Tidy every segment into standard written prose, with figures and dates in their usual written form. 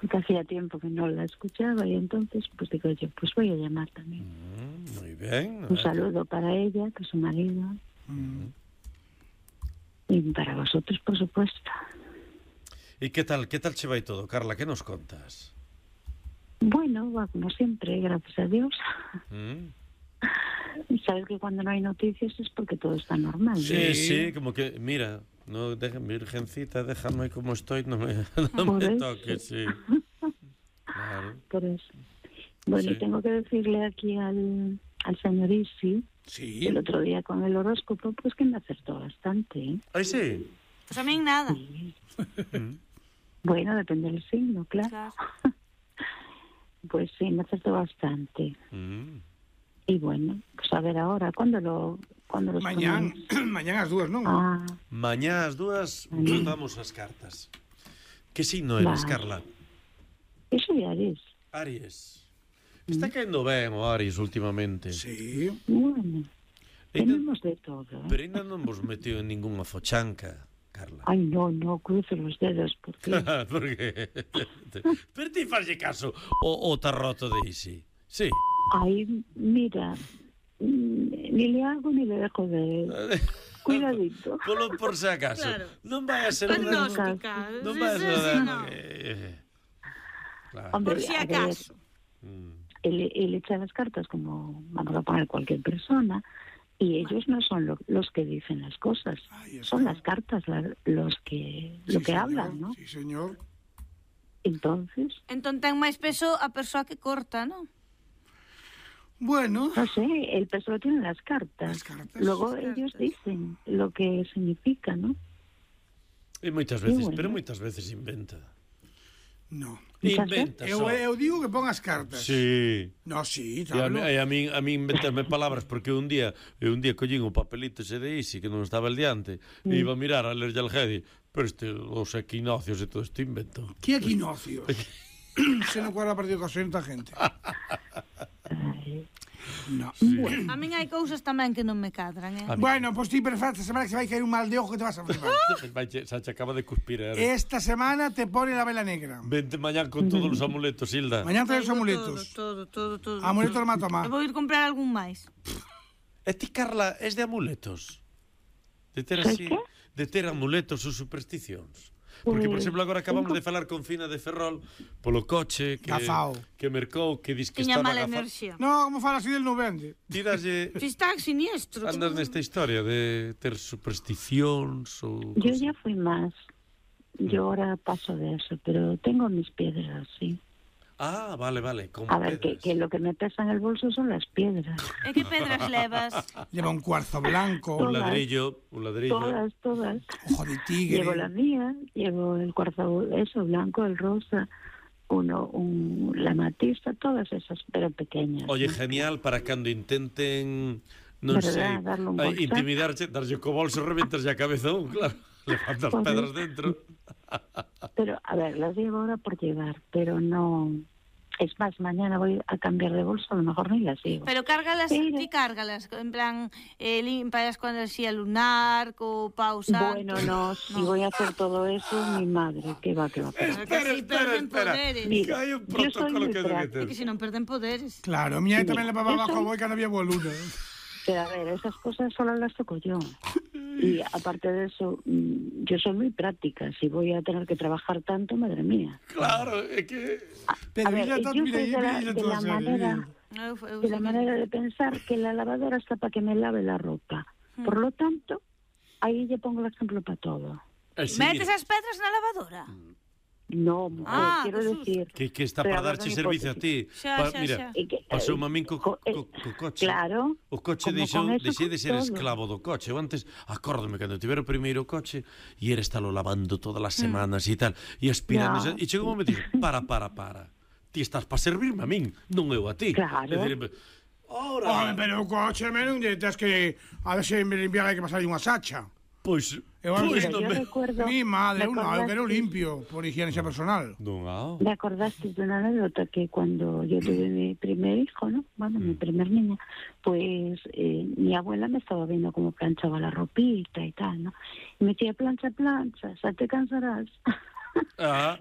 Porque hacía tiempo que no la escuchaba y entonces pues digo yo, pues voy a llamar también. Muy bien. Un saludo para ella, que es su marido. Y para vosotros, por supuesto. ¿Y qué tal che vai todo, Carla? ¿Qué nos contas? Bueno, va como siempre, gracias a Dios. Sabes que cuando no hay noticias es porque todo está normal. Sí, como que, mira, no, virgencita, déjame como estoy, no me toques, sí. Claro. Por eso. Bueno, Sí. y tengo que decirle aquí al señor Isi, el otro día con el horóscopo, pues que me acertó bastante, ¿eh? Ay, sí. Pues a mí nada. Sí. Bueno, depende del signo, claro. Pues sí, me acertó bastante. Y bueno, pues a ver ahora, ¿cuándo los Mañán as 2, non? Mañá as 2 votamos as cartas. Que signo eres, Carla? Eu soy Aries. Aries. Está caendo ben o Aries últimamente. Sí. Bueno, tenemos de todo, ¿eh? Pero ainda non vos meteu en ninguna fochanca, Carla. Ay, no, cruzo los dedos, porque... Por qué? Pero ti falle caso o tarroto de Isi. Sí. Ay, mira, ni le hago ni le dejo de... Cuidadito. Por si acaso. Claro. Non vai a ser Agnóstica. Non vai a ser no. Claro. Hombre, Por si a ver, acaso. él echa las cartas como vamos a poner cualquier persona y ellos no son los que dicen las cosas, son las cartas lo que hablan, ¿no? Sí, señor. Entonces ten máis peso a persoa que corta, ¿no? Bueno, no sé, el peso lo tienen las cartas. Luego ellos dicen lo que significa, ¿no? E moitas veces, pero moitas veces inventa. no. Inventa só. Eu digo que pon as cartas. Sí. No, sí, E claro. a mí inventarme palabras porque un día collín un papelito ese de Isi que non estaba el diante e iba a mirar a lerlle al Gedi, pero os equinoccios e todo isto invento. Que equinoccios? Se non cuadra a partir de ocasión da gente. No. Bueno. A min hai cousas tamén que non me cadran, Bueno, pois ti perfecta, semana que se vai caer un mal de ojo que te vas a flipar. Se acaba de cuspir. Esta semana te pone la vela negra. Vente mañán con todos os amuletos, Hilda. Mañán traes os amuletos. Todo. Amuletos mata-má. Eu vou ir comprar algún máis. E ti, Carla, es de amuletos? De ter así, de ter amuletos ou supersticións? Porque, por exemplo, agora acabamos de falar con Fina de Ferrol polo coche que mercou, que dis que Tiña estaba mala enerxía. No, como fala así del non vende. Ti daslle... Fistac siniestro. Andas nesta historia de ter supersticións ou... Yo ya fui más. Yo ahora paso de eso, pero tengo mis piedras, sí. Ah, vale, como a ver, que lo que me pesa en el bolso son las piedras. E que pedras levas? Lleva un cuarzo blanco. Un ladrillo. Todas. Ojo de tigre. Llevo la mía, llevo el cuarzo, eso, blanco, el rosa, la matista, todas esas, pero pequeñas. Oye, ¿no? genial para cando intenten, non sei, intimidarche, darlle co bolso, reventarlle a cabezón, claro, levantas pedras dentro. Pero, a ver, las llevo ahora por llevar, pero no... Es más, mañana voy a cambiar de bolso, a lo mejor ni las llevo. Pero cárgalas, ti cárgalas, en plan, limpias con enerxía lunar, co pau santo. Bueno, no, si voy a hacer todo eso, mi madre, que va. Espera. Mira, Hai un protocolo que debe É ter. que se non perden poderes. Claro, mi tamén le papá bajo boi que non había boa luna. Pero a ver, esas cosas solo las toco yo. Y aparte de eso, yo soy muy práctica. Si voy a tener que trabajar tanto, madre mía. Claro, é que... A ver, yo soy de la manera de pensar que la lavadora está para que me lave la ropa. Por lo tanto, ahí yo pongo el ejemplo para todo. Metes as pedras na lavadora? No, mujer, quiero decir... Que está para darche servicio a ti. Mira, pasou a min co coche. Claro. O coche deixei de ser esclavo do coche. Eu antes, acórdome, cando tivera o primeiro coche, e era estalo lavando todas as semanas e tal, e aspirando, e chegou un momento e dixo, para. Ti estás para servirme a min, non eu a ti. Claro. Ora... pero o coche menos tens que... A ver se me limpiar hai que pasar unha sacha. Pois yo recuerdo... Mi madre, eu quero limpio, por higiene personal. Me acordaste de una anécdota que cuando yo tuve mi primer hijo, ¿no? Bueno, mi primer niña, pues mi abuela me estaba viendo cómo planchaba la ropita y tal, ¿no? Y me decía, plancha, o sea, te cansarás.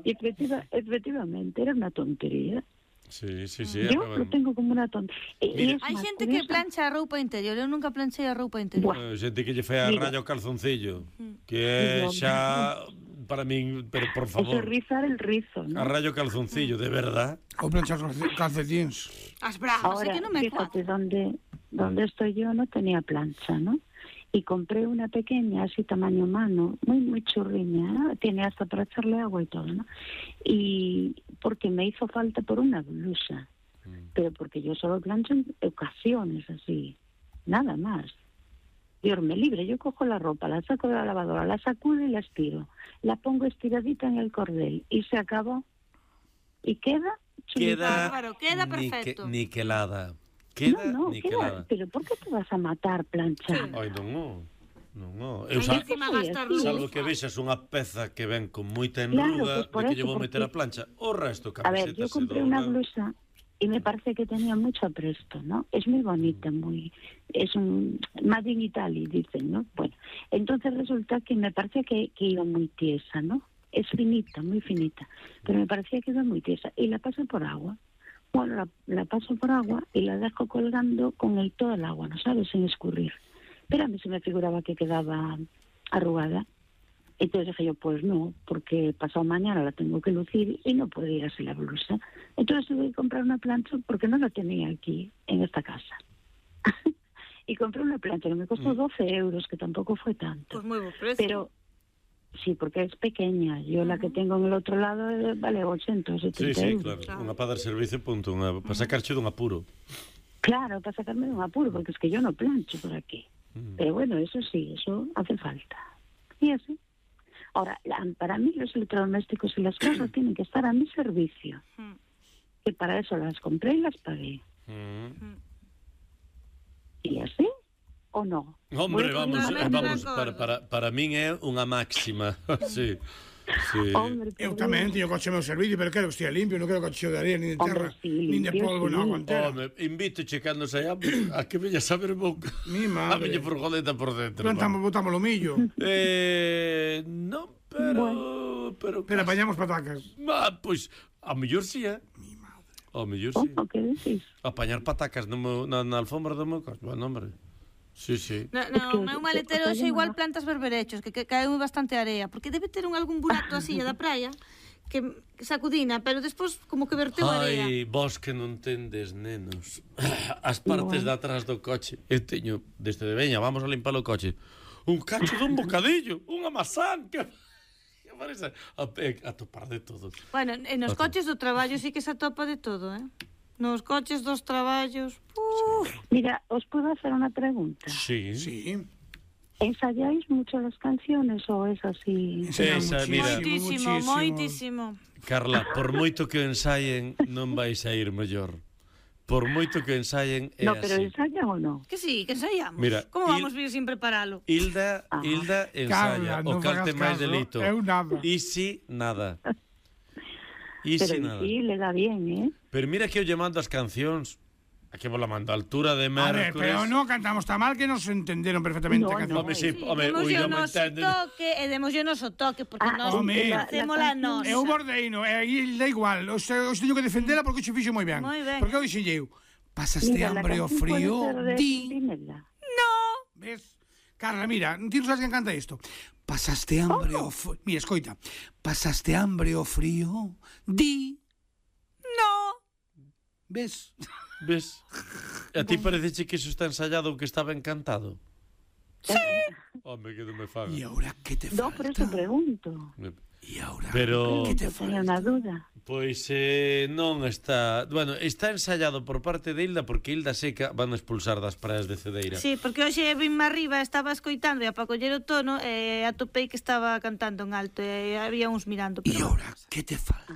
Y efectivamente, era una tontería. Sí. Yo lo tengo como una tontería. Hai xente que plancha a roupa interior, eu nunca planchei a roupa interior. Xente que lle fai a raya o calzoncillo, que é xa para min, pero por favor. Eso rizar el rizo, ¿no? A raya o calzoncillo, de verdad. Ou planchar calcetins. As bragas, Ahora, é que non me fíjate, donde estoy yo no tenía plancha, ¿no? Y compré una pequeña, así tamaño mano, muy churriña, ¿no? Tiene hasta para echarle agua y todo, ¿no? Y porque me hizo falta por una blusa, pero porque yo solo plancho en ocasiones así, nada más. Dios me libre, yo cojo la ropa, la saco de la lavadora, la sacudo y la estiro, la pongo estiradita en el cordel y se acabó. Y queda perfecto. Niquelada. Queda niquelada. Pero ¿por qué te vas a matar planchando? Ai, non. Salvo que vexas unha peza que ven con moita enruga, pues de que lle vou meter a plancha, o resto A ver, camiseta yo compré una blusa y me parece que tenía mucho apresto, ¿no? Es muy bonita, es un Made in Italy, dicen, ¿no? Bueno, entonces resulta que me parecía que iba muy tiesa, ¿no? Es finita, muy finita, pero me parecía que iba muy tiesa y la paso por agua. Bueno, la paso por agua y la dejo colgando con todo el agua, ¿no sabes? Sin escurrir. Pero a mí se me figuraba que quedaba arrugada. Entonces dije yo, pues no, porque pasado mañana la tengo que lucir y no puede ir así la blusa. Entonces tuve que comprar una plancha porque no la tenía aquí, en esta casa. Y compré una plancha que me costó 12 euros, que tampoco fue tanto. Pues muy buen precio. Pero sí, porque es pequeña. Yo la que tengo en el otro lado vale 80 o 70 euros. Claro. Unha para dar servicio, punto. Para sacarche dun apuro. Claro, para sacarme de un apuro, porque es que yo no plancho por aquí. Pero bueno, eso sí, eso hace falta. Y así. Ahora, para mí los electrodomésticos y las cosas tienen que estar a mi servicio. Que para eso las compré y las pagué. ¿Y así? ¿O no? Hombre, vamos, para min é unha máxima. Sí. Hombre, eu tamén teño coche meu servicio, pero quero que estea limpio, non quero que cheo de areia, nin de terra, nin de polvo na guantera. Home, invito cando saíamos a que veña saber boca. Mi madre. A veña furgoneta por dentro. Botamos o millo. Non, pero apañamos patacas. Pois, a mellor si, Mi madre. A mellor si. ¿Cómo? ¿Qué decís? Apañar patacas na alfombra do meu coche. Bueno, hombre. Sí. No, meu maletero xe igual plantas berberechos, que caeu bastante area, porque debe ter algún burato así da praia que sacudina, pero despois como que verteu area. Ai, vos que non tendes, nenos. As partes de atrás do coche. Eu teño, desde de veña, vamos a limpar o coche. Un cacho dun bocadillo, unha mazán, que parece a topar de todo. Bueno, nos coches do traballo sí que se atopa de todo, Nos coches dos traballos. Mira, ¿os puedo hacer una pregunta? Sí. ¿Ensayáis mucho las canciones o es así? Moitísimo. Carla, por moito que ensayen, non vais a ir mellor. Por moito que ensayen é No, pero así. ¿ensayan o no? Que sí, que ensayamos. Mira, como vamos vir sin preparalo? Hilda ensaya, Carla, o calte máis delito. Eu nada. E si, nada. Pero sí, le da bien, Pero mira que eu lle mando as cancións. Aquí vos la mando a altura de mércores. A ver, pero non cantamos tan mal que nos entenderon perfectamente a canción. Home, sí, Demoslle o noso toque, e demoslle o noso toque, porque nós facemos a nosa. Eu bordeino, e aí da igual. Os teño que defendela porque o xe fixo moi ben. Porque eu dixenlle eu, pasaste hambre o frío, di... No. Ves? Carla, mira, ti non sabes quen canta isto. Pasaste hambre o frío... Mira, escoita. Pasaste hambre o frío, di... No. Ves? A ti parece que iso está ensayado ou que estaba encantado? Sí. Home, que non me faga. E ahora que te falta? No, por eso pregunto. E ahora que te falta? Tenía unha duda. Pois non está... Bueno, está ensayado por parte de Hilda, porque Hilda Seca van a expulsar das praias de Cedeira. Sí, porque hoxe vim arriba, estaba escoitando e para coller o tono e atopei que estaba cantando en alto e había uns mirando. E ahora que te falta?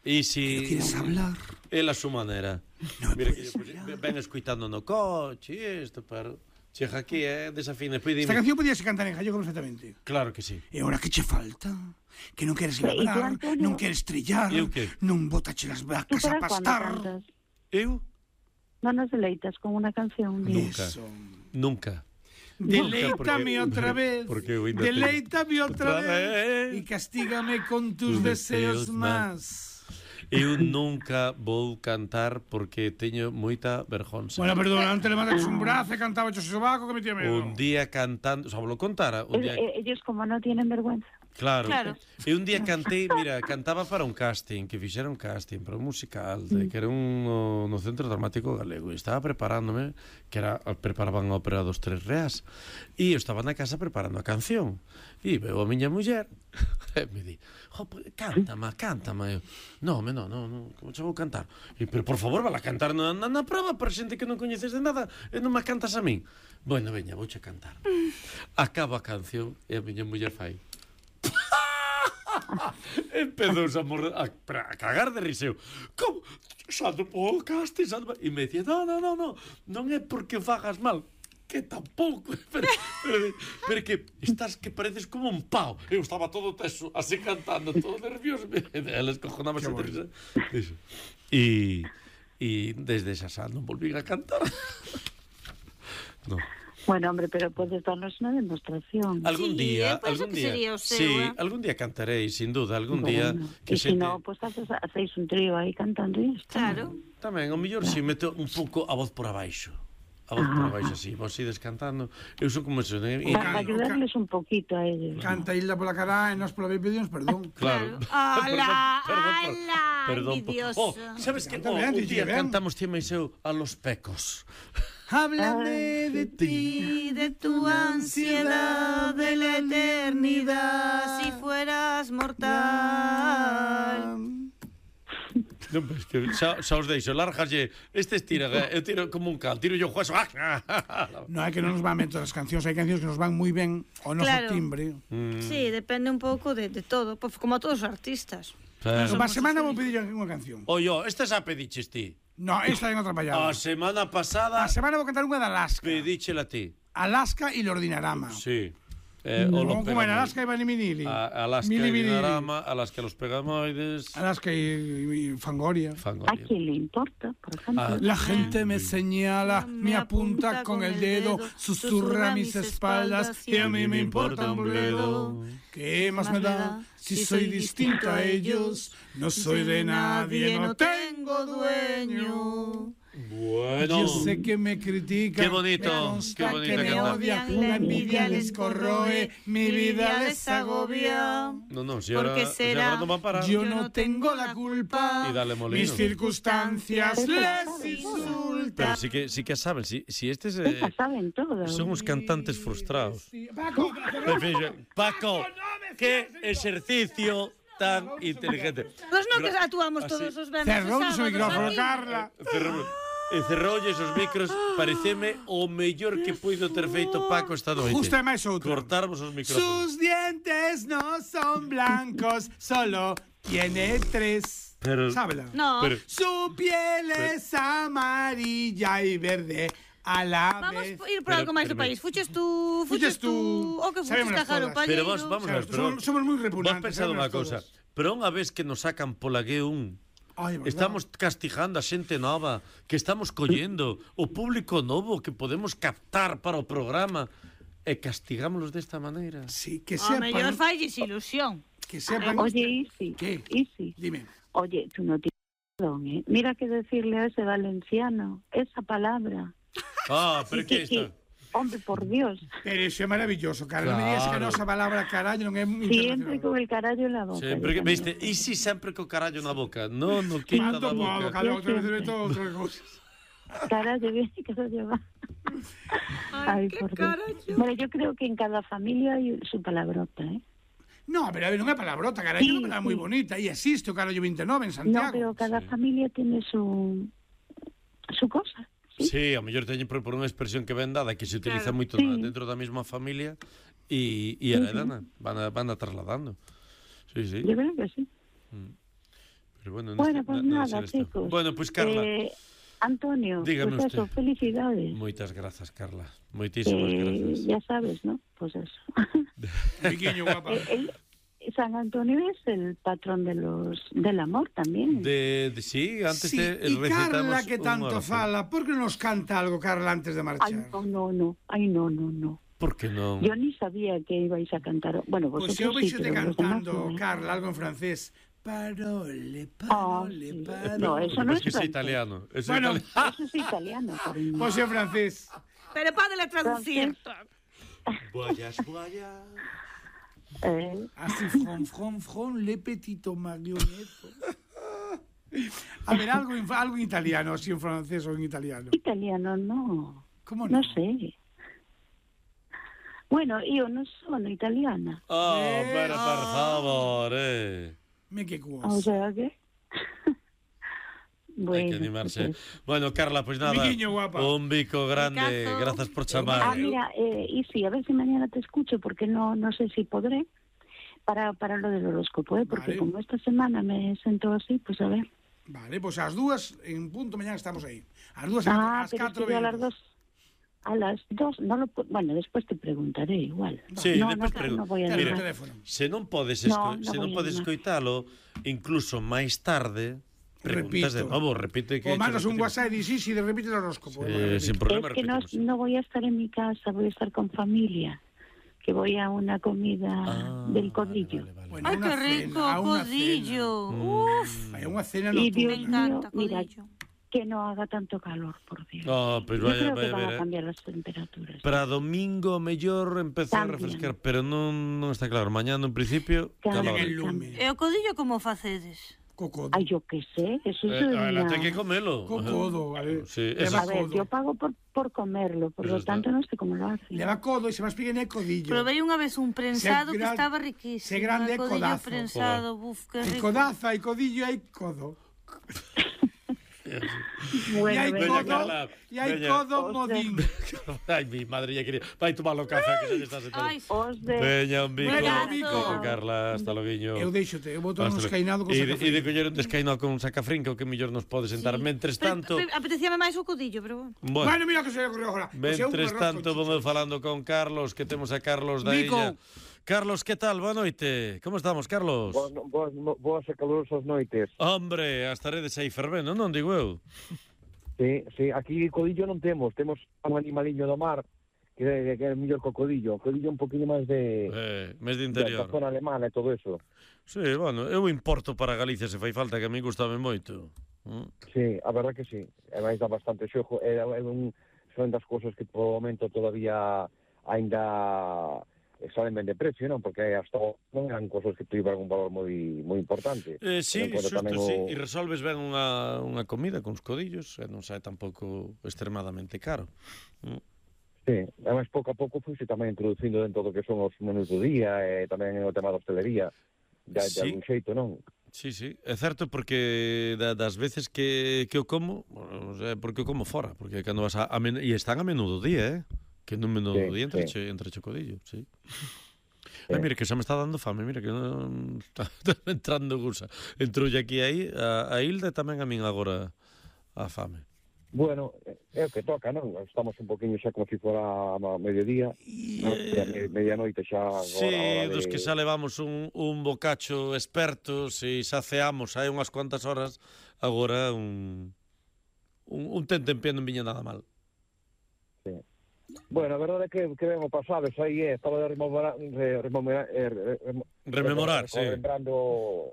E si... ¿Quieres hablar? Ela a súa maneira. No mira que ven escoitando no coche isto, pero... Chega aquí, desafina. Esta canción podíase cantar en gallego perfectamente. Claro que sí. E ahora que che falta? Que non queres labrar, non queres trillar, non botache las vacas a pastar. Eu? Non nos deleitas con unha canción. Nunca. Deleítame outra vez, porque eu ainda deleítame outra outra vez vez. e castígame con tus deseos más. Eu nunca vou cantar porque teño moita vergonza. Bueno, perdón, antes le mandaches un brazo e cantaba o sobaco que metía medo. Un día cantando, xa vos lo contara, un día... Ellos como no tienen vergüenza. Claro. E un día Ah. cantei, mira, cantaba para un casting, que fixera un casting para un musical, que era no Centro Dramático Galego, e estaba preparándome, que era preparaban a ópera dos Tres Reas, e eu estaba na casa preparando a canción, e veo a miña muller, e me di, cántama, eu, non, como che vou cantar? E, pero por favor, vala cantar na prova para xente que non coñeces de nada, e non me cantas a min. Bueno, veña, vouche cantar. Acabo a canción, e a miña muller fai, empezou a cagar de riseo. Como? Xa non podo caste, xa non... E me dicía, non é porque fagas mal, que tampouco, pero que estás que pareces como un pau. Eu estaba todo teso, así cantando, todo nervioso, ela escojonábase de risa. E desde esa xa non volví a cantar. Non. Bueno, hombre, pero podes darnos unha demostración. Algún día, penso que sería o seu, sí, algún día cantarei, sin duda, algún día que se no, pues hacéis un trío aí cantando isto. Claro. Tamén, o mellor si meto un pouco a voz por abaixo. A voz por abaixo, así, vos ides cantando. Eu son como eso, Para ayudarles un poquito a ellos. Canta Hilda pola cara e nos pola vez pedimos perdón. Claro. Perdón, envidioso. Sabes que un día cantamos ti máis eu a los pecos. Háblame de Y de tu ansiedad de la eternidad, si fueras mortal. Non, pues que xa os deixo, lárgalle, tira, eu tiro como un cal, tiro yo juezo. No, é que non nos van ben todas as cancións, hai cancións que nos van moi ben ao noso timbre. Sí, depende un pouco de todo, pues, como a todos os artistas. Para semana vou pedir unha canción. Oye, esta xa pediches ti. No, esta en outra pallada. A semana pasada A semana vou cantar unha de Alaska. pedíchela ti. Alaska y Lordinarama. Sí. No, como en Alaska y Vanimidili. Alaska y Dinarama, Alaska los Pegamoides. Alaska y Fangoria. ¿A quién le importa, por ejemplo? La gente me señala, me apunta con el dedo, susurra a mis espaldas y a mí me importa un bledo. ¿Qué más me da si soy distinto a ellos? No soy de nadie, no tengo dueño. Bueno. Yo sé que me critican, Qué bonito, me consta qué bonito que me cantar. odian, la envidia les corroe, mi vida les agobia. No, si ahora no van a parar. Yo no tengo la culpa, Y dale molino. mis circunstancias les insultan. Pero sí que saben, si este es... Estas saben todo. Son uns cantantes frustrados. Paco, Paco, qué ejercicio tan inteligente. Pues no que actuamos todos os venres. cerrou o micrófono, Carla. Cerroulle esos micros, pareceme o mellor que puido ter feito Paco esta noite. Justo é máis outra. Cortarmos os micrófonos. Sus dientes no son blancos, solo tiene 3. Pero- Sábela. No. Pero- Su piel es amarilla y verde a la Vamos vez. a ir por algo máis do país. Fuches tú. O que fuches Sabémolas cajar o todas. Pero palleiro. vamos a ver, pero Somos moi vos repugnantes. pensado unha sabémolas cousa. todas. Pero unha vez que nos sacan pola G1, Ai, verdad. estamos castigando a xente nova, que estamos collendo o público novo que podemos captar para o programa e castigámoslos desta maneira. Sí, que O mellor sepan. falles ilusión. Que sepan. Oye, Isi. ¿Qué? Isi. Dime. Oye, tú no tienes razón, ¿eh? Mira que decirle a ese valenciano esa palabra. Pero que isto? Hombre, por Dios. Pero eso é maravilloso, cara. Non me digas que a Claro. nosa palabra carallo non é Siempre internacional. con el carallo en la boca. Sempre que, viste, e si sempre co carallo na boca, non no quita da Tanto modo, boca. cada outra vez meto outras cousas. Carallo viene, carallo va. Ay, qué por Dios. carallo. Bueno, yo creo que en cada familia hay su palabrota, ¿eh? No, pero a ver, non é palabrota, carallo, Sí, é unha palabra moi sí. bonita. E existe o carallo 29 en No, Santiago. pero cada familia tiene su cosa. Sí, a mellor teñen por unha expresión que ven dada que se utiliza Claro. moito Sí. dentro da mesma familia e heredan, van a trasladando. Sí, sí. Yo creo que sí. Pero bueno, Bueno, pues debe nada, ser esto. chicos. Bueno, pues Carla, Antonio, Dígame pues eso, usted. felicidades. moitas grazas, Carla. Moitísimas grazas. Ya sabes, ¿no? Pues eso. Piquiño, guapa. San Antonio es el patrón del amor también. Sí, antes Sí, de y recitamos Carla que unha tanto oración. fala, por que nos canta algo, Carla, antes de Ay, marchar? no. Ay, no. Por que non? Yo ni sabía que ibais a cantar. Bueno, Pois vosotros eu sí, veixote pero los demás cantando, no. Carla, algo en francés. Parole, Sí. No, eso no es que é francés. italiano. Bueno, Eso es italiano, cariño. pois en francés. Pero pódele traducir. Voyage, voyage. Así, from, le petito marionetto. A ver, algo en italiano, así en francés o en italiano. Italiano no. Como non? No sé. Bueno, io non sono italiana. Pero por favor, Me que cuos. O sea que... Hai que animarse. Bueno, Carla, pues nada, Biquiño, guapa. un bico grande, Bicazo. gracias por chamar. mira, y sí, a ver si mañana te escucho, porque no sé si podré, para lo del horóscopo, porque Vale. como esta semana me siento así, pues a ver. Vale, pois ás 2 en punto mañana estamos aí. Ás 2 ás Pero es que 4 yo a las 2, no lo bueno, después te preguntaré igual. Sí, no, despois no, pregunto. no voy a Mira, llamar. teléfono. se non podes No voy a escoitalo, incluso máis tarde, preguntas de Repito. novo, repite que O mandas un WhatsApp e dis, de repite el horóscopo. sin problema, Es que no, repetimos. no voy a estar en mi casa, voy a estar con familia, que voy a una comida del codillo. Vale. Bueno, Ai, unha que rico, cena, unha codillo. Uf, cena. Hai unha cena Y nocturna. Dios me encanta, mío, mira, codillo. que no haga tanto calor, por Dios. Oh, pues Yo vaya, creo que van vaya. a cambiar las temperaturas. Para domingo mellor empezar a También. refrescar, pero non está claro. Mañana en principio, También. calor. En el lume. E o codillo como facedes? Cocodo. Ay, yo qué sé, eso es Ahora una... ten que comelo. Cocodo, vale. Sí, Leva A ver, codo. yo pago por comerlo, por Eso lo está. tanto no sé cómo lo hacen. Leva codo e se vas piden é codillo. Probei unha vez un prensado Se que gran- estaba riquísimo. se grande é Codillo codazo. prensado, buf, que Hai rico. codaza, hai codillo e hai codo. Bueno, E hai Veña, codo, Carla, e hai veña. codo modín. Ay, mi madre ya quería. Vai tomar o café que xa lle estás sentado. Ai, os de... Veña, un bico. Venga, Bico, Bico. Carla, hasta loguiño. Eu deixote, eu boto un escainado con E sacafrín. de coller un descainado con sacafrín, que o que mellor nos pode sentar. Mentres tanto, Apetecíame máis o codillo, pero bueno. bueno, Bueno, mira que se lle ocurriu agora. Pois eu un mentres arroz tanto con vamos falando con Carlos, que temos a Carlos da Bico. Illa. Carlos, que tal? Boa noite. Como estamos, Carlos? Boas e calurosas noites. Hombre, as taredes aí fervendo, non digo eu? Sí, aquí codillo non temos un animaliño do mar que é mellor co codillo. O codillo un poquinho máis Mes de da interior. zona alemana e todo eso. Sí, bueno, eu importo para Galicia se fai falta, que a mí gustame moito. Sí, a verdad que sí. E máis dá bastante xogo. Son das cousas que por o momento todavía ainda salen ben de precio, non? Porque hasta non eran cousas que tiveran un valor moi importante. Sí, Pero xusto, tamén sí. E resolves ben unha comida con os codillos, e non sai tampouco extremadamente caro. Sí, además pouco a pouco foi tamén introducindo dentro do que son os menús do día e tamén o tema da hostelería de algún xeito, non? Sí, é certo porque das veces que o como, bueno, o sea, porque o como fora, porque cando vas e están a menudo día, que nun menudo día entre chocodillo, sí. Ai, mira, que xa me está dando fame, mira, que non está entrando gusa. Entroulle aquí aí a Hilda e tamén a min agora a fame. Bueno, é o que toca, non? Estamos un poquinho xa como se fora a mediodía, medianoite xa agora. Sí, dos que xa levamos un bocacho experto, se saceamos hai unhas cuantas horas, agora un tente en pie non viña nada mal. Sí. Bueno, a verdade é que ben o pasado, xa aí estaba de rememorar, sí. Lembrando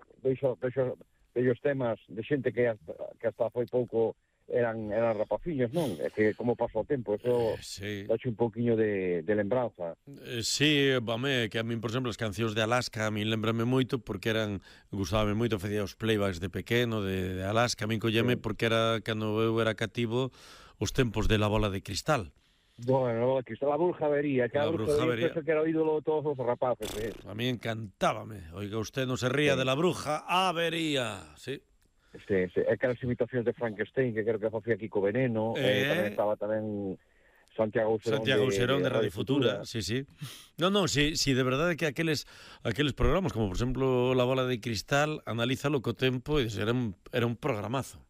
vellos temas de xente que hasta foi pouco eran rapaciños, non? É que como pasa o tempo, eso dache un pouquiño de lembranza. Sí, vame, que a min, por exemplo, as cancións de Alaska a min lembrame moito porque gustábame moito, facía os playbacks de pequeno de Alaska, a min colleme porque era cando eu era cativo os tempos de La Bola de Cristal. Bueno, a Brujavería, que a Brujavería que era o ídolo de todos os rapaces. A mí encantábame. Oiga, usted no se ría de la bruja, avería, sí. Sí, é que as imitacións de Frankenstein, que creo que facía Kiko Veneno, tamén estaba Santiago Userón de Radio Futura, sí. Non, sí, de verdade que aqueles programas, como por exemplo La Bola de Cristal, analízalo co tempo e era un programazo.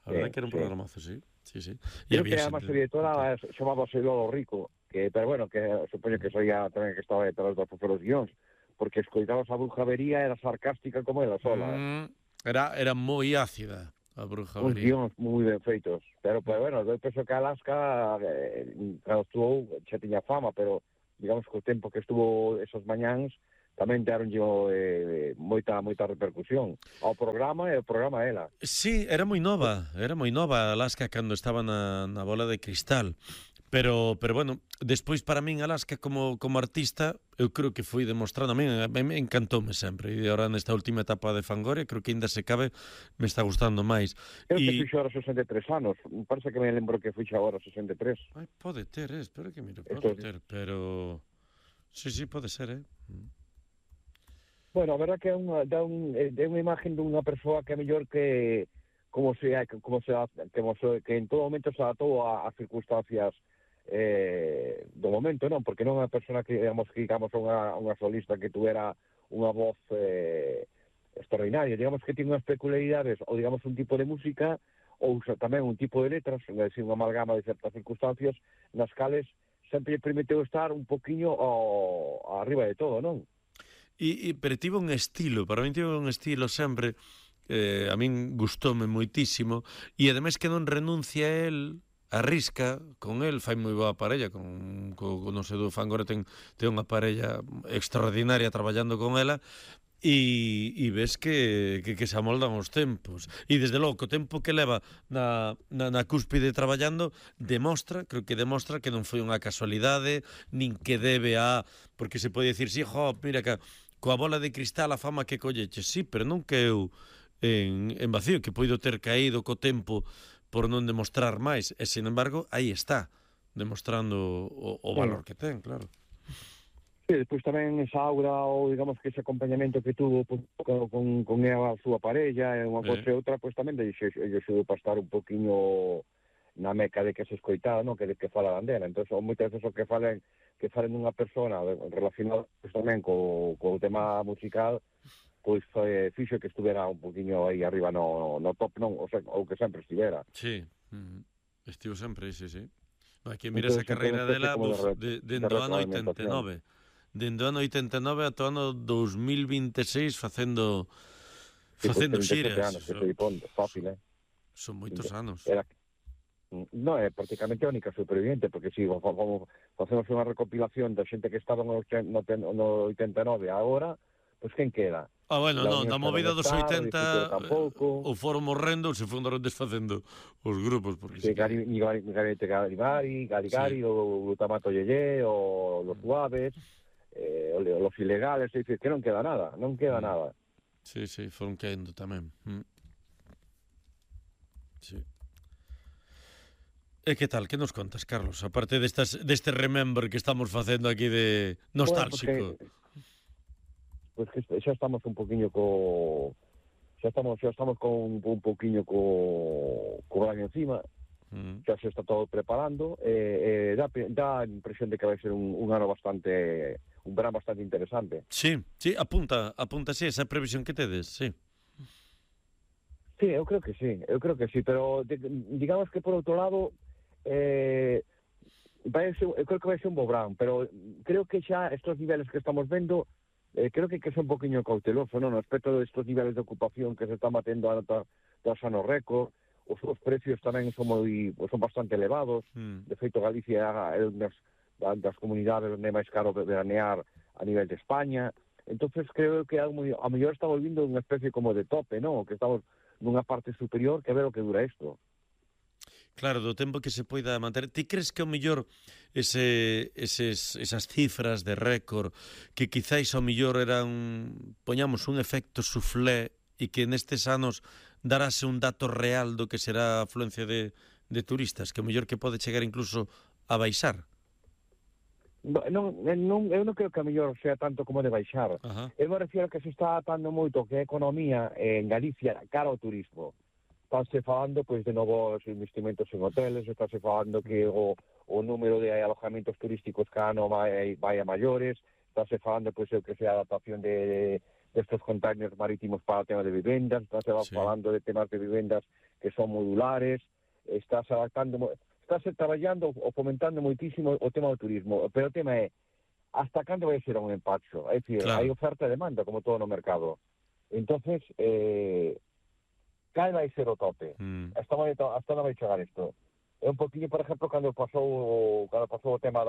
A verdade que era un programazo, sí. Creo que además a directora chamábase Lolo Rico, pero bueno, que supoño que soía tamén que estaba detrás dos guións, porque escoitabas a Brujavería, era sarcástica como ela sola. Era moi ácida a Brujavería. Uns guións moi ben feitos. Pero bueno, eu penso que Alaska cando estuvo xa tiña fama, pero digamos que o tempo que estuvo esos mañáns tamén deron moita repercusión ao programa e ao programa a ela. Sí, era moi nova Alaska cando estaba na bola de cristal. Pero bueno, despois para min Alaska como artista, eu creo que foi demostrando, a mí me encantoume sempre, e agora nesta última etapa de Fangoria, creo que ainda se cabe, me está gustando máis. Creo que fixo agora 63 anos, parece que me lembro que fixo agora 63. Ai, pode ter, espero que mire, pode ter, pero... Sí, pode ser, Bueno, a verdad que é unha imagen dunha persoa que é mellor que que en todo momento se adaptou a circunstancias do momento, non? Porque non é unha persona que, digamos unha solista que tuviera unha voz extraordinaria, digamos que tiene unhas peculiaridades, ou digamos un tipo de música, ou tamén un tipo de letras, é dicir, unha amalgama de certas circunstancias, nas cales sempre permiteu estar un poquinho arriba de todo, non? Pero tivo un estilo, para mí tivo un estilo sempre, a min gustoume moitísimo, e ademais que non renuncia a él, arrisca con el, fai moi boa parella con non sei, do Fangoria ten unha parella extraordinaria traballando con ela, e ves que se amoldan os tempos, e desde logo o tempo que leva na cúspide traballando creo que demostra que non foi unha casualidade, nin que debe porque se pode dicir, sí, mira que coa bola de cristal a fama que colleche, sí, pero non queu en vacío, que poido ter caído co tempo por non demostrar máis, e, sin embargo, aí está, demostrando o valor que ten, claro. Sí, despois tamén esa aura, ou digamos que ese acompañamento que tuvo con ela, a súa parella, e unha cosa e outra, pois tamén lle axudou para estar un poquinho na meca de que se escoitaba, non? Que falaran dela. Entón, moitas veces o que falen dunha persona relacionado tamén co tema musical, pois fixo que estuvera un poquinho aí arriba no top, non? Ou que sempre estivera. Sí, estivo sempre, sí. Aquí mira esa carreira dela dende o ano 89. Dende o ano 89 ata o ano 2026 facendo xiras. Fácil, Son moitos anos. Non, é prácticamente a única superviviente, porque si facemos unha recopilación da xente que estaba no 89 agora, pois quen queda? Bueno, non, na movida dos 80 ou foron morrendo ou se foron desfacendo os grupos. Gabinete Galigari, o Glutamato Yeye, o Los Suaves, Los Ilegales, que non queda nada, nada. Sí, foron caendo tamén. Sí. E que tal, que nos contas, Carlos? Aparte deste remember que estamos facendo aquí de nostálxico. Pois que xa estamos un poquinho xa estamos con un poquinho co año encima, xa se está todo preparando, dá a impresión de que vai ser un ano un verán bastante interesante. Sí, apunta sí, esa previsión que tedes, sí. Sí, eu creo que sí, pero digamos que por outro lado, eu creo que vai ser un bo verán, pero creo que xa estos niveles que estamos vendo, creo que é un poquinho cauteloso, non? No aspecto destes niveles de ocupación que se está matendo dos anos récord, os precios tamén son bastante elevados. De feito, Galicia é unha das comunidades onde é máis caro veranear a nivel de España. Entonces creo que a mellor está volvindo unha especie como de tope, non? Que estamos nunha parte superior, que ver o que dura isto. Claro, do tempo que se poida manter. Ti crees que ao mellor esas cifras de récord que quizáis ao mellor eran, poñamos, un efecto soufflé e que nestes anos darase un dato real do que será a afluencia de turistas, que ao mellor que pode chegar incluso a baixar? Eu non creo que a mellor sea tanto como de baixar. Eu me refiero a que se está atando moito que a economía en Galicia cara ao turismo. Estánse falando de novos investimentos en hoteles, estánse falando que o número de alojamientos turísticos cada ano vai a maiores, estánse falando que sea a adaptación de estos containers marítimos para o tema de vivendas, estánse falando de temas de vivendas que son modulares, estáse traballando ou fomentando moitísimo o tema do turismo, pero o tema é hasta cando vai ser un empacho, é dicir, hai oferta e demanda como todo no mercado. Entonces, cal vai ser o tope? Hasta onde vai chegar isto? É un poquinho, por exemplo, cando pasou o tema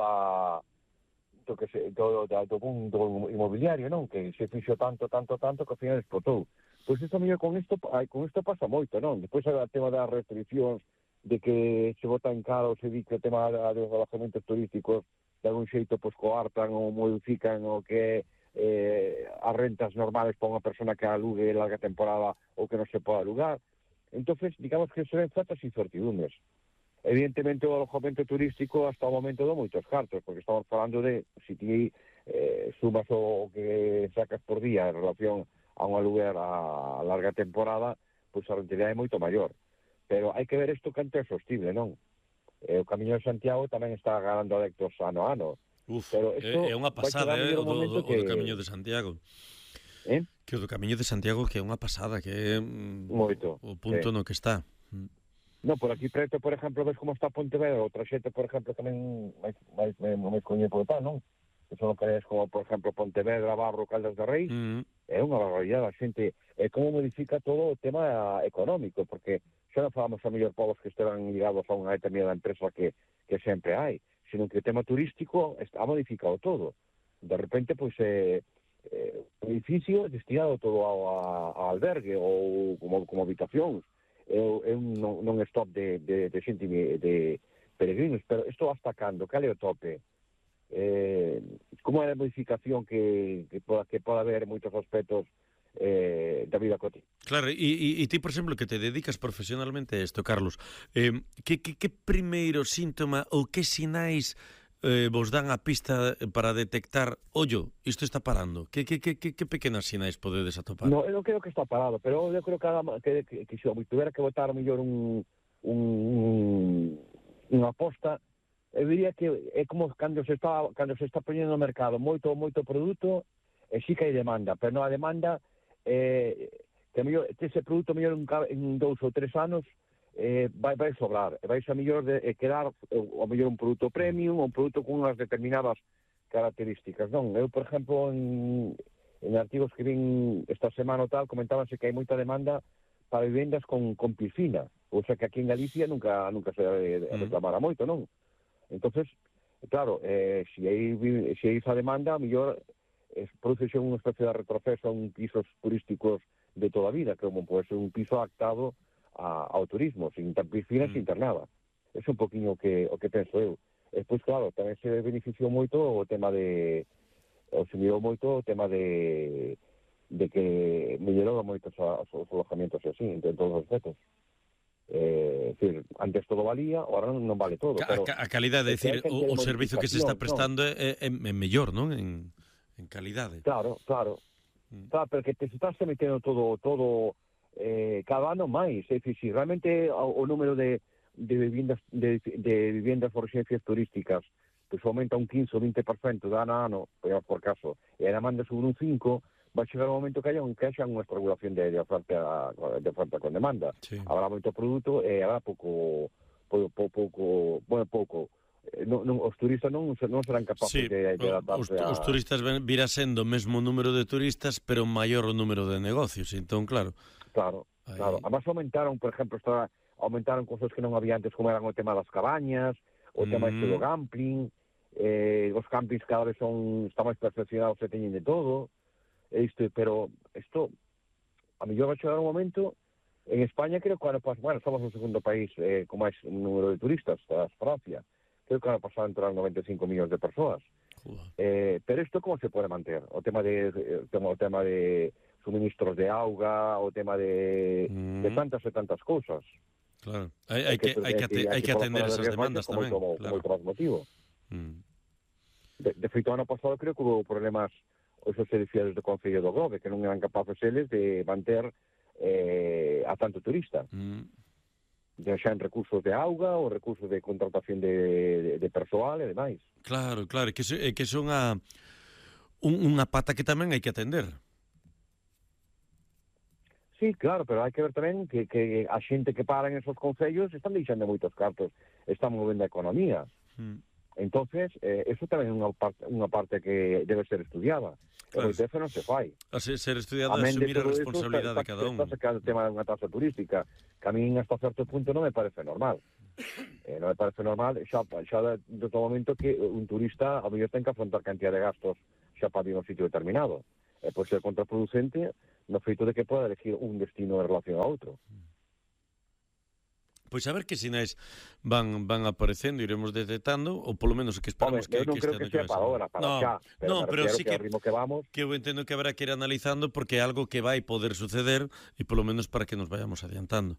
do boom do inmobiliario, non? Que se fixo tanto que ao final explotou. Pois isto mellor con isto pasa moito, non? Despois o tema das restriccións, de que se botan caro, se di que o tema dos alojamentos turísticos de algún xeito pois coartan ou modifican o que as rentas normales para unha persona que alugue larga temporada ou que non se pode alugar. Entonces, digamos que se ven certas incertidumbres. Evidentemente, o alojamento turístico hasta o momento dá moitos cartos, porque estamos falando de, se ti sumas o que sacas por día en relación a un aluguer a larga temporada, pois a rentabilidade é moito maior. Pero hai que ver isto canto é sostible, non? O Camiño de Santiago tamén está ganando adeptos ano a ano. Pero é unha pasada, o do Camiño de Santiago. Que o do Camiño de Santiago que é unha pasada, que é moito, o punto no que está. No, por aquí preto, por exemplo, ves como está Pontevedra, o traxete, por exemplo, tamén máis coñecido por tal, non? Que son localidades como, por exemplo, Pontevedra, Barro, Caldas de Reis, é unha barbaridade, a xente, é como modifica todo o tema económico, porque xa non falamos a mellor povos que esteban ligados a unha determinada empresa que sempre hai, sino que o tema turístico ha modificado todo. De repente, pois, o edificio destinado todo ao albergue ou como habitacións, é un non-stop de xente de peregrinos, pero isto hasta cando? Cal é o tope? Como é a modificación que pode haber en moitos aspectos da vida cotidiana? Claro, e ti, por exemplo, que te dedicas profesionalmente a isto, Carlos, que primeiro síntoma ou que sinais vos dan a pista para detectar, ollo, isto está parando? Que pequenas sinais podedes atopar? No, eu non creo que está parado, pero eu creo que se tuvera que botar mellor unha aposta, eu diría que é como cando se está poñendo no mercado moito produto, e sí que hai demanda, pero non a demanda que mellor ese produto mellor en 2 ou 3 anos vai sobrar, vai a mellor quedar o mellor un produto premium, un produto con unhas determinadas características, non? Eu, por exemplo, en artigos que vin esta semana ou tal, comentábanse que hai moita demanda para vivendas con piscina, ou sea que aquí en Galicia nunca se reclamara moito, non? Entonces, claro, se hai esa demanda, a mellor produce unha especie de retroceso a un pisos turísticos de toda a vida, como pode ser un piso adaptado ao turismo, sin piscina, sin ter nada. É un poquinho o que penso eu. Despois, claro, tamén se beneficiou moito o tema de que mellorou moito os alojamentos así, en todos os aspectos. Decir, antes todo valía, ahora non vale todo. Pero a calidade, é dicir, o servizo que se está prestando é mellor, non? En calidade. Claro, pero que te estás metendo todo cada ano máis, é dicir, si realmente o número de viviendas por residencias turísticas pues aumenta un 15 ou 20% de ano a ano, por caso, e a demanda sube un 5, vai chegar un momento que haya unha estrangulación de oferta con demanda. Sí. Habrá moito produto e habrá pouco. Os turistas non serán capaces de adaptarse os turistas virá sendo o mesmo número de turistas, pero maior o número de negocios, entón, claro. Claro. Además aumentaron, por exemplo, aumentaron cosas que non había antes, como eran o tema das cabañas, o tema do gambling, os campings cada vez están máis perfeccionados e teñen de todo, pero isto, a mellor vai chegar un momento, en España creo que somos o segundo país con máis número de turistas, tras Francia, creo que van a pasar entre 95 millóns de persoas. Pero isto como se pode manter? O tema de suministros de auga, o tema de tantas e tantas cousas. Claro, hai que atender esas demandas tamén. Como outro motivo. De feito, ano pasado creo que hubo problemas esos edificios do Concello do Grove, que non eran capaces eles de manter a tanto turista. Xa en recursos de auga ou recursos de contratación de persoal e demais. Claro, que son unha pata que tamén hai que atender. Sí, claro, pero hai que ver tamén que a xente que para en esos concellos están deixando moitos cartos, están movendo a economía. Entonces, eso tamén é unha parte que debe ser estudiada. Claro. E moito non se fai. A ser estudiado é asumir a responsabilidade de cada un. Está sacando o tema dunha taxa turística, que a min hasta certo punto non me parece normal. Non me parece normal xa do todo momento que un turista a mellor ten que afrontar cantidad de gastos xa para ir a un sitio determinado. Pode ser contraproducente no feito de que poda elegir un destino en relación a outro. Pois a ver que sinais van aparecendo, iremos detectando, ou polo menos que esperamos que non creo que sea para ahora, para xa, pero sí que vamos, que eu entendo que habrá que ir analizando porque é algo que vai poder suceder e polo menos para que nos vayamos adiantando.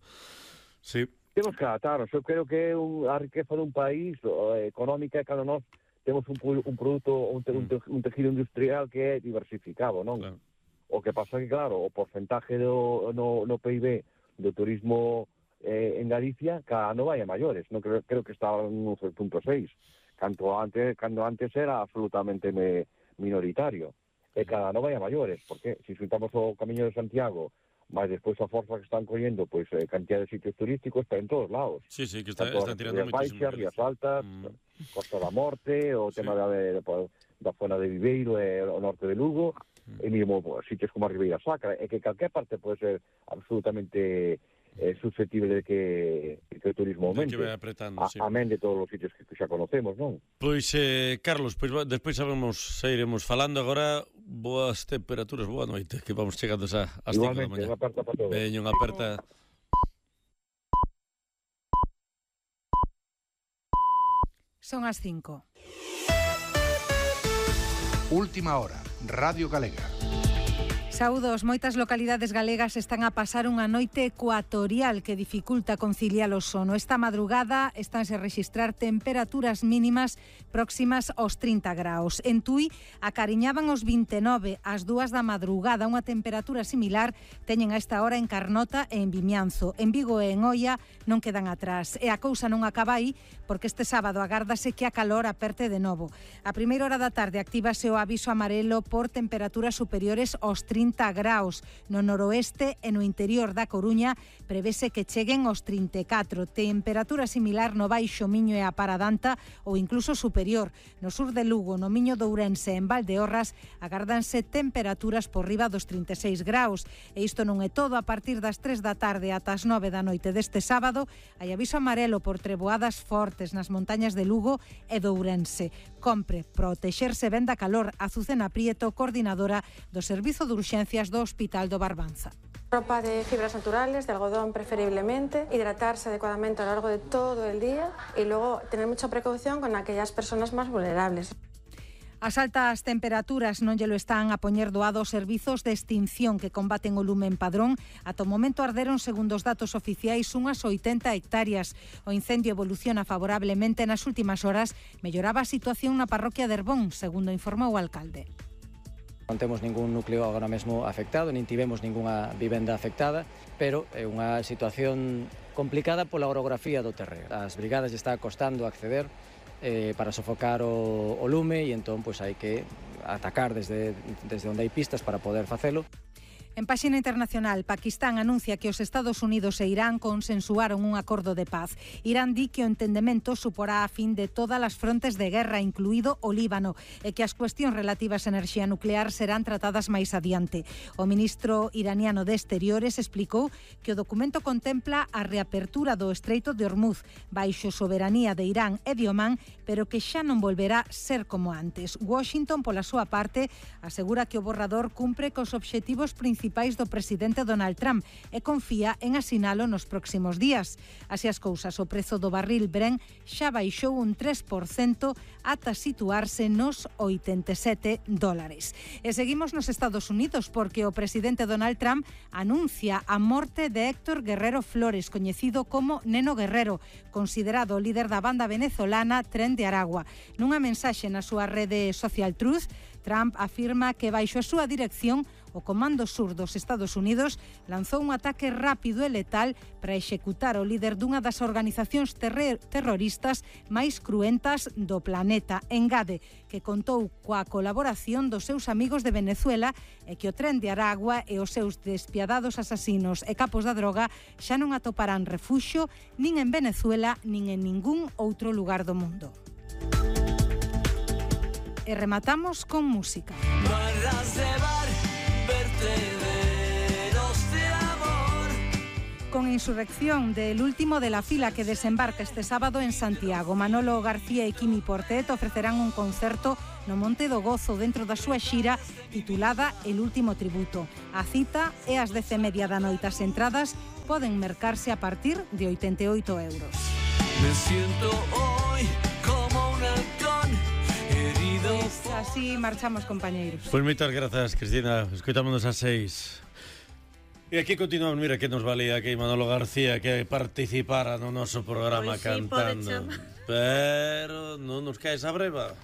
Sí. Temos que adaptarnos, eu creo que a riqueza dun país económica é cando nós temos un produto, un tejido industrial que é diversificado, non? Claro. O que pasa que, claro, o porcentaje no PIB do turismo en Galicia cada ano vai a maiores, non creo que estaba en 1,6, cando antes era absolutamente minoritario, e cada ano vai a maiores, porque se juntamos o Camiño de Santiago, máis despois a forza que están collendo, pois cantidad de sitios turísticos está en todos lados. Sí, que están tirando moitísimo. Rías Altas, Costa da Morte, o tema da zona de Viveiro e o norte de Lugo, e mesmo sitios como a Ribeira Sacra, e que calquer parte pode ser absolutamente susceptible de que o turismo aumente, amén de todos os sitios que xa conocemos, non? Pois, Carlos, despois iremos falando. Agora, boas temperaturas, boa noite, que vamos chegando ás 5 da mañá. Igualmente, unha aperta para todos. Veño, unha aperta. Son as 5. Última hora, Radio Galega. Saúdos, moitas localidades galegas están a pasar unha noite ecuatorial que dificulta conciliar o sono. Esta madrugada estánse a rexistrar temperaturas mínimas próximas aos 30 graus. En Tui acariñaban os 29 ás 2 da madrugada. Unha temperatura similar teñen a esta hora en Carnota e en Vimianzo. En Vigo e en Oia non quedan atrás. E a cousa non acaba aí porque este sábado agárdase que a calor aperte de novo. A primeira hora da tarde actívase o aviso amarelo por temperaturas superiores aos 30 graus. No noroeste e no interior da Coruña prevese que cheguen aos 34. Temperatura similar no Baixo Miño e a Paradanta ou incluso superior. No sur de Lugo, no Miño de Ourense e en Valdeorras agárdanse temperaturas por riba dos 36 graus. E isto non é todo. A partir das 3 da tarde ata as 9 da noite deste sábado hai aviso amarelo por treboadas fortes nas montañas de Lugo e de Ourense. Compre protexerse ben da calor. Azucena Prieto, coordinadora do Servizo de Urxencias do Hospital do Barbanza. Ropa de fibras naturales, de algodón preferiblemente, hidratarse adecuadamente a lo largo de todo el día y luego tener mucha precaución con aquellas personas más vulnerables. As altas temperaturas non lle lo están a poñer doado aos servizos de extinción que combaten o lume en Padrón. Ata o momento arderon, segundo os datos oficiais, unhas 80 hectáreas. O incendio evoluciona favorablemente. Nas últimas horas melloraba a situación na parroquia de Herbón, segundo informou o alcalde. Non temos ningún núcleo agora mesmo afectado, nin tivemos ningunha vivenda afectada, pero é unha situación complicada pola orografía do terreo. As brigadas está costando acceder para sofocar o lume e entón pois hai que atacar desde onde hai pistas para poder facelo. En páxina internacional, Pakistán anuncia que os Estados Unidos e Irán consensuaron un acordo de paz. Irán di que o entendemento suporá a fin de todas as frontes de guerra, incluído o Líbano, e que as cuestións relativas á enerxía nuclear serán tratadas máis adiante. O ministro iraniano de Exteriores explicou que o documento contempla a reapertura do Estreito de Hormuz baixo soberanía de Irán e de Omán, pero que xa non volverá ser como antes. Washington, pola súa parte, asegura que o borrador cumpre cos obxectivos principais do presidente Donald Trump e confía en asinalo nos próximos días. Así as cousas, o prezo do barril Brent xa baixou un 3% ata situarse nos $87. E seguimos nos Estados Unidos porque o presidente Donald Trump anuncia a morte de Héctor Guerrero Flores, coñecido como Neno Guerrero, considerado o líder da banda venezolana Tren de Aragua. Nunha mensaxe na súa rede Social Truth, Trump afirma que baixo a súa dirección o Comando Sur dos Estados Unidos lanzou un ataque rápido e letal para executar o líder dunha das organizacións terroristas máis cruentas do planeta. Engade que contou coa colaboración dos seus amigos de Venezuela e que o Tren de Aragua e os seus despiadados asasinos e capos da droga xa non atoparán refuxio nin en Venezuela nin en ningún outro lugar do mundo. E rematamos con música. con Insurrección, del último de la fila que desembarca este sábado en Santiago. Manolo García e Quimi Portet ofrecerán un concerto no Monte do Gozo dentro da súa xira titulada El último tributo. A cita é ás 10:30 da noite. As entradas poden mercarse a partir de 88 euros. Me siento hoy como un halcón herido. Pues así marchamos, compañeiros. Pois moitas grazas, Cristina. Escoitámonos ás 6. E aquí continuamos, mira que nos valía aquí Manolo García que participara no noso programa cantando. Pero non nos cae esa breva.